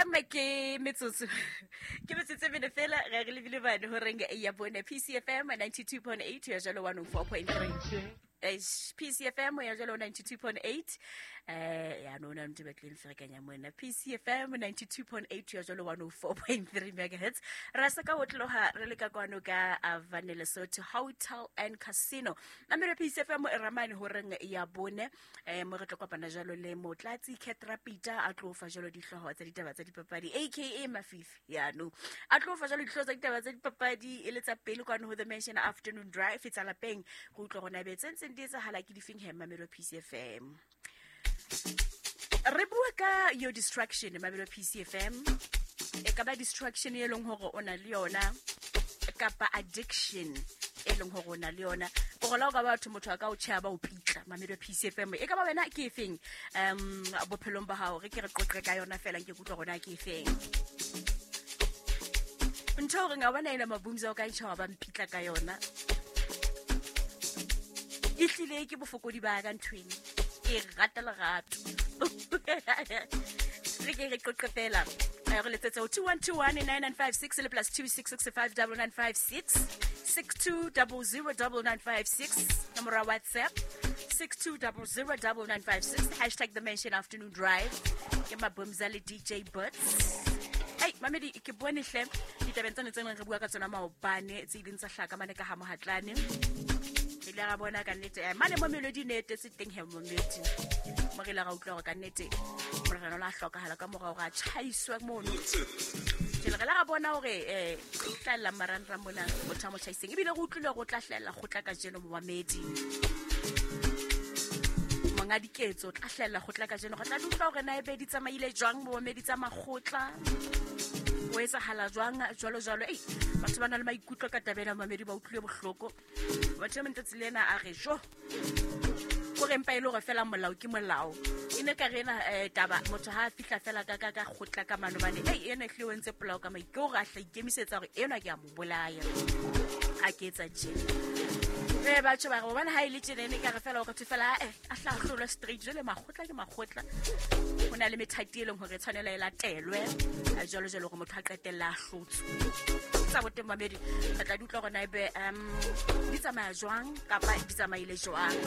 Mme ke metsotso ke metsotso e mene fela re re lebile bane horeng ya bone. PCFM 92.8 ya jalo 104.3. Eish, PCFM ya jalo 92.8, ya no na ntse batleng ferekanya mona. PCFM 92.8 ya jalo 104.3 megahertz. Ra se ka otloha re le ka kwano ka Avane Lesotho Hotel and Casino. Namele PCFM e ramane horeng ya bone. Mo re tlo kopana jalo le Motlatsi Catrapita, a tlo fa jalo dihlooho tsa ditaba tsa dipapadi, aka Mafifi. Yaanong a tlo fa jalo dihlooho tsa ditaba tsa dipapadi e le tsa pele kwano ho The Mansion Afternoon Drive tsa lapeng, go utlwa gona be tse ntseng di etsahala ke difeng. He Mamelo PCFM, re bua ka your distraction. Mamelo PCFM, e ka ba distraction e leng gore o na le yona kapa addiction e leng gore o na le yona, gore la o ka batho motho a ka o tšhea ba o pitla. Mamelo PCFM, e ka ba wena ke efeng bophelong ba gago? Re ke re qoqe ka yona fela, nke kutlwa gona ke efeng ntho gore nga bona ena mabumza o ka ntšha wa ba mpitla ka yona. E tlile ke bofokodi ba ka nthweng, ke rata lerato. Re ke re qoqe fela. Re letsetse ho 2121 9956 le +266 5 9956 6200 9956, nomoro ya WhatsApp 6200 9956, #TheMansionAfternoonDrive. Ke Mabumza le DJ Birds. Ei mamedi, ke bone hle ditabeng tsane tse neng re bua ka tsona maobane, tse ileng tsa hlaka mane ka ha Mohatlane. Re ile ra bona ka nnete mane mo Melodi ne etetse teng. He momedi, mo re ile ra utlwa hore ka nnete morena o la hlokahala ka mora hore a tjhaiswe mono. Jwale re la ra bona hore hlahella marangrang mona motho a mo tjhaiseng, ebile re utlwile hore o tla hlahella kgotla kajeno. Momamedi, monga diketso o tla hlahella kgotla kajeno. Re tla di utlwa hore na ebe di tsamaile jwang, momamedi, tsa makgotla, o etsahala jwang, jwalo jwalo. Ei, batho ba na le maikutlo ka taba ena. Mamedi, ba utlwile bohloko batho ba mentsatsi le ena a re jo kore empa e le hore fela molao ke molao. E ne ka re ena taba motho ha a fihla fela ka kgotla ka mano bane, ei, ena ehlile o entse polao ka maike hore a hla ikemisetsa hore enwa ke a mo bolaya ha ke etsa tjena. Batho ba re gobane ha e le tjena, e ne ka re fela o ka thwe fela a hla hlolwa straight. Jwale makgotla ke makgotla, ho na le methati e leng hore e tshwanela e latelwe jwalo jwalo hore motho a qetella a hlotswe. Tsa boteng mamedi, re tla di utlwa hore na ebe di tsamaya jwang kapa di tsamaile jwang.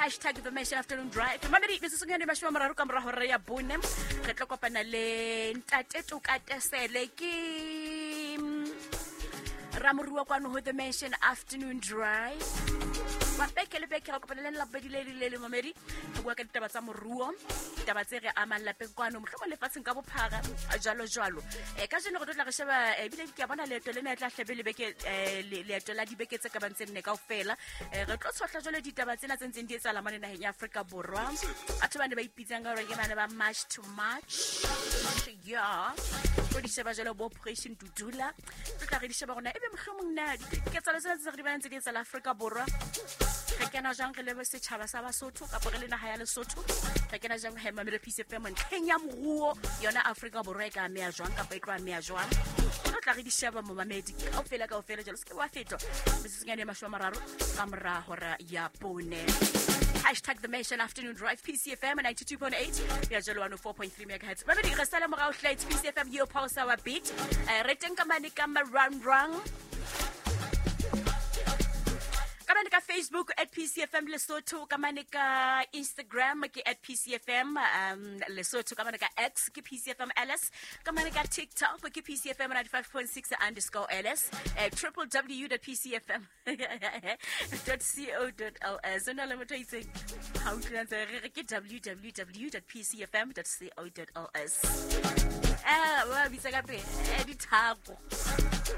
#TheMansionAfternoonDrive. Mamedi, metsotsong ya 30 ka mora hora ya bone re tlo kopana le ntate Tokatesele, ke ramoruwa kwano ho The Mansion Afternoon Drive. Wa beke le beke re kopana le Labobedi le le le. Mamedi, re bua ka ditaba tsa moruo, ditaba tse re amang lapeng kwano, mohlomong lefatsheng ka bophara, jwalo jwalo. Kajeno re tlo tla re sheba, ebile ke a bona leeto lena e tla hlabe le beke, leeto la dibeke tse ka bang tse nne kaofela. Re tlo tshohla jwale ditaba tsena tse ntseng di etsahala mane naheng ya Afrika Borwa, batho ba ne ba ipitsang ka hore ke bane ba March to March. Ya tlo di sheba jwale bo Operation Dudula, tlo tla re di sheba rona ebe mohlomong na diketsahalo tsena tse re di bonang tse di etsahala Afrika Borwa, re kena jwang re le setjhaba sa Basotho kapa re le naha ya Lesotho, re kena jwang he Mamelo Peace FM ntlheng ya moruo yona Afrika Borwa, e ka ameha jwang kapa e tlo ameha jwang? Tlo tla re di sheba, momamedi, kaofela kaofela jalo. Se ke wa fetwa, metsotsonyane e 30 ka mora hora ya bone. #TheMansionAfternoonDrive, PCFM 92.8 ya jalo 104.3 megahertz. Mamedi, re sale morao hle. It's PCFM, your pulse, our beat. Re teng ka mane ka marangrang, ka mane ka Facebook @PCFMLesotho, ka mane ka Instagram ke @PCFMLesotho, ka mane ka X ke PCFM LS, ka mane ka TikTok ke PCFM 95.6_LS, www.pcfm.co.ls. O na le motho a itseng ha utlwile ntse re re ke www.pcfm.co.ls, ba bitsa ka pele dithako.